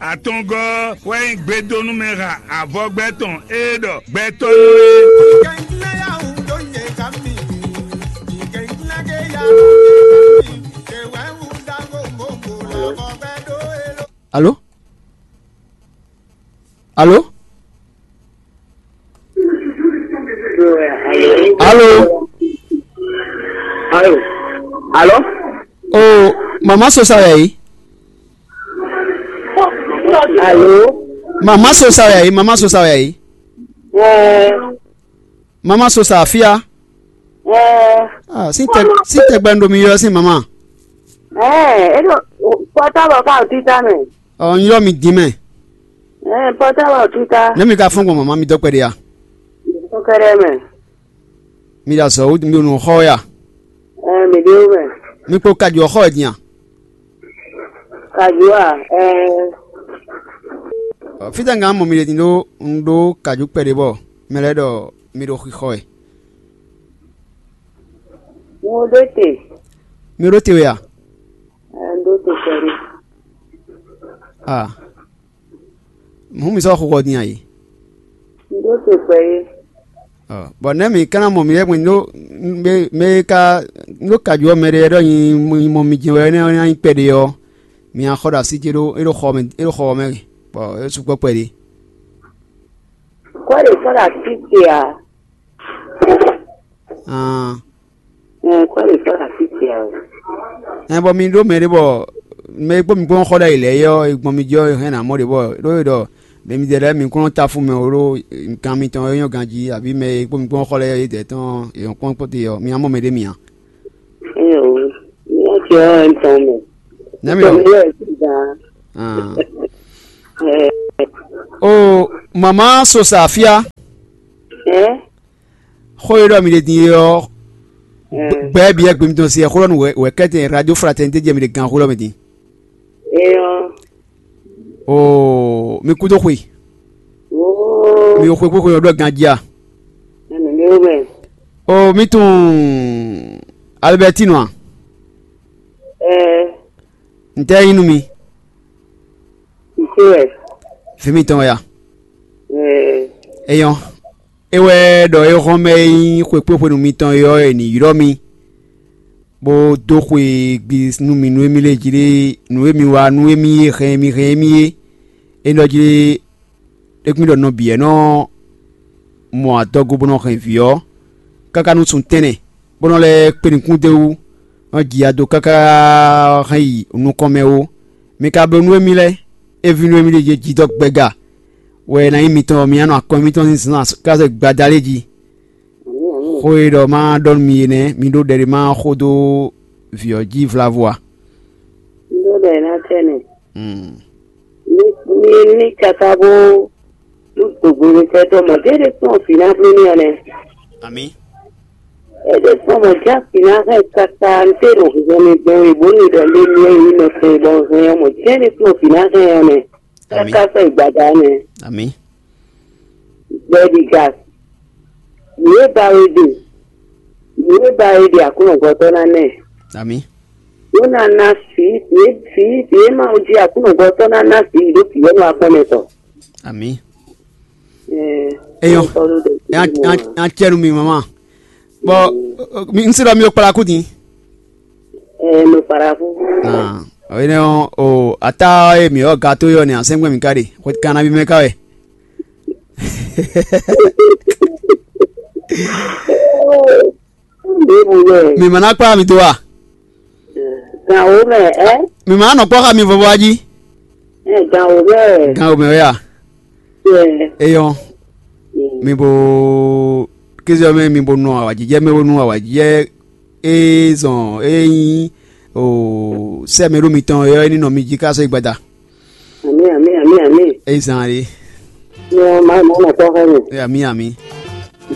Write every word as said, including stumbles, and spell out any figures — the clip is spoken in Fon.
Atɔngɔ́ wɛ nyí gbedónúmɛha avɔgbɛ́ tɔn e ɖɔ gbɛtɔ́ nú é. Alo? Alo? Alo? Alo? Alo? Oh, mama sosa ya yi. Alo? Mama sosa ya yi, mama sosa ya yi. Ɛɛ, Mama sosa afia. Ɛɛ, Ah, sin tɛ sin tɛ gbɛndo mi yɔ sin mama. Ɛɛ, e ɖo pɔtabɔ ka o tita mɛ. Ɔ, n yɔ mi din mɛ. Ɛɛ, pɔtabɔ o tita. Ne mi ka fɔn gbɔn mama mi dɔ kpɛɖe ya. Kɔkɛɖɛ mɛ. Mi da zɔ wú mi nu xɔ ya. Ɛɛ, mi ɖe mɛ. Mi kpo kaju xɔ din ya. Kaju a? Ɛɛ. Fítɛ́ ŋa mɔ mi ɖe din ɖó un ɖó kaju kpɛɖé bɔ mɛ lɛ́ɛ ɖɔ mi ɖo xixɔ wɛ. Mo ɖó te. Mi ɖó te wɛ a? Ɛɛ, ɖó te kpɛɖé. Ah. Hǔn mi sɔ́ xixɔ din a yi? Ɖó te kpɛɖé. Bɔ nɛ̌ mǐ ka ná mɔ mǐ lɛ́ɛ gbɔn ɖó mɛ e ka ɖó kaju ɔ́ mɛ ɖé ɖɔ nyi mɔ mi jɛ́n wɛ énɛ́ ɔ́ ná nyí kpɛɖé ɔ́, mi ná xɔ ɖo así ce ɖó é ɖo xɔ mɛ é ɖo xɔ ɔ́ mɛ bɔ é sukpɔ́ kpɛɖé. Kɔ́ ɖě sɔ́ ɖo así ce ǎ. Aan. Ɛɛ, kɔ́ ɖě sɔ́ ɖo así ce ǎ. Ɛn bɔ mi ɖó mɛ ɖé bɔ mɛ e kpó mi kpó xɔ ɖ'ayǐ lɛ́ɛ é ɔ́, è gbɔn mi jí ɔ́, è hɛn nǎ mɔ ɖě bɔ ɖó é ɖɔ mɛ midɛɛ lɛ́ɛ mi kún nɔ táfú mɛ ó ɖó gan mitɔn e nyɔ́ ganjí, abǐ mɛ e kpó mi kpó xɔ lɛ́ɛ é dɛ̌ tɔn è nɔ kpɔ́n kpɔ́ te ɔ́, mi ná mɔ mɛ ɖé mi ǎ. Ɛɛ o, mi ná jɛ ɔ́ ɛ tɔn mɛ. Nɛ̌ mi Tɔn ɔ́? Mi wɛ sí gan. Ah. Ɛɛ, O mama sosa afia. Ɛ? Xó e ɖɔ mi ɖe din é ɔ́, gbɛ́ biyɛ́ gbe mitɔn se xó ɖɔ nú wɛ kɛ́tɛn radio fraternité jɛ mi ɖe gan xó ɖɔ mi din. Eyɔn. Oo, mi kúdó xwe. Oo. Mi xwe xwe xwe ɖɔ ganjí a? Ɛnɛ mi wɛ. Oo, mi tunwun Albertino a? Ɛɛ. Ntɛ́ nyí nú mi? Ntɛ́ wɛ? Vǐ mitɔn wɛ a? Ɛɛ. Eyɔn. É wɛ ɖɔ é hɔn mɛ e nyí xwekpéxwenu mitɔn é ɔ́, è nǐ ylɔ́ mi, bó dó xwe gbi nú mi nú émí lɛ́ɛ jí lé, nǔ e mi wa nú émí é hɛn mi hɛn émí é. É nɔ jí lé, é kún ɖɔ nɔ bǐ wɛ nɔ mɔ adɔgo bó nɔ hɛn vǐ ɔ́, káká nú sun tɛ́nnɛ, bó nɔ lɛ́ kpe nukún d'é wú, nɔ ji ado káká hɛn yi nukɔn mɛ ó. Mi ka bló nú émí lɛ́ɛ, é ví nú émí ɖě jɛ jidɔ́ gbɛga wɛ ná nyí mitɔn, mi ná nɔ akɔn mitɔn sín zǎn káká gbada lé jí. Xó e ɖɔ ma ɖɔ nú mi é nɛ́, mi ɖó ɖɛɖe ma xó dó vǐ ɔ́ jí vlavo a? Un ɖó ɖɔ è nǎ tɛ́ nɛ. Mm. Ní ní ní káká bó nú gbogbo mi sɛ́ tɔn mɔ̌, jɛ́n é ɖésú ɔ́ fǐ ná bló n'i ɔ́ nɛ́. Amǐ. É ɖésú ɔ́ mɔ̌, jɛ́n fǐ ná hɛn káká, un téɖo hwǐhwɛ́ mi gbɛn we bó ní ɖɔ lé mi e nyí mɛ tɔn e bɔ un hɛn ɔ́ mɔ̌, jɛ́n é ɖésú ɔ́ fǐ ná hɛn ɔ́ nɛ́. Amǐ. Káká sɔ́ yi gbada ɔ́ nɛ́. Amǐ. Gbɛɖiga, nǔ e ba we ɖe, nǔ e ba we ɖe Aklúnɔgbɔtɔ́ ná nɛ. Amǐ. Bó ná ná vǐ, vǐ, vǐ, vǐ e Mawu jí Aklúnɔgbɔtɔ́ ná ná vǐ ɖó vǐ énɛ́ wá kpɔ́n mɛ tɔn. Amǐ. Ɛɛ, Eyɔn. Tɔ́ ló ɖe Nya nya nya cɛ nú mi mama. Bɔ mi n se ɖɔ mi ɖo kpla kú din. Ɛɛ, no kpla kú. Ah, ɔyinɛ o ata e mi ɔ gato yɔ ni asɛngbɛ mi ka ɖe. Xwe kana bi mɛ ka wɛ. Ɖěbǔ wɛ. Mi ma ná kplá mi dó a? Gan wǒ mɛ, ɛ? Mi ma ná nɔ kpɔ́ xá mi vɔvɔ a jí? Ɛ, gan wǒ mɛ. Gan wǒ mɛ wɛ a? Ɛ. Eyɔn. Mm. Mi bo kéze ɔ́ mɛ mi bo nɔ awǎjijɛ mɛ bo nú awǎjijɛ e zɔn e nyí o sɛ́ mɛ ɖó mitɔn e ɔ́ é ní nɔ mi jí ká sɔ́ yi gbada. Amǐ, amǐ, amǐ, amǐ. E zan ɖe. Yɔ, ma ma ma kpɔ́ xá mi. E amǐ amǐ.